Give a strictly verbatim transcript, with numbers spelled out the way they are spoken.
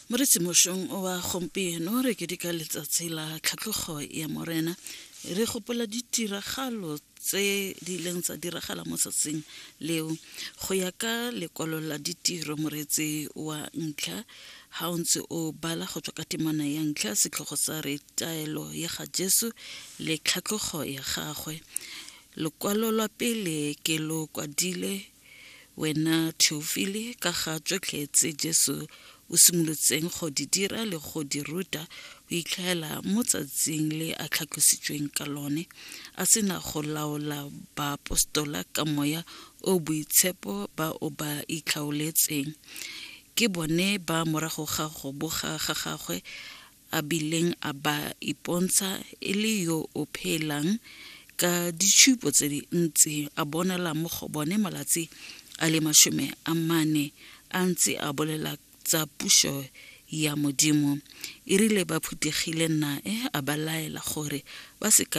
Moretsi mošong wa gompieno re keteka letsatsi la tlhatlhogo ya Morena. Re gopola ditiragalo tse di ileng tsa diragala mo tsatsing leo. Go ya ka lekwalo la Ditiro, moreetsi wa ntlha, ga o ntse o bala go tswa ka temana ya ntlha, setlhogo sa re taelo ya ga Jesu le tlhatlhogo ya gagwe. Lokwalo lwa pele ke lo kwadile wena Theofile ka ga tsotlhe tse Jesu o simolotseng go di dira le go di ruta go itlhaela mo tsatsing le a tlhatlositsweng ka lone, a sena go laola baapostola ka moya o boitshepo ba o ba itlhaoletseng. Ke bone ba morago ga go boga ga gagwe a bileng a ba ipontsha e le yo o phelang ka ditshupo tse dintsi, a bonala mo go bone malatsi a le masome a mane a ntse a bolela tsa puso ya Modimo. E rile ba phuthegile nae, a ba laela gore ba se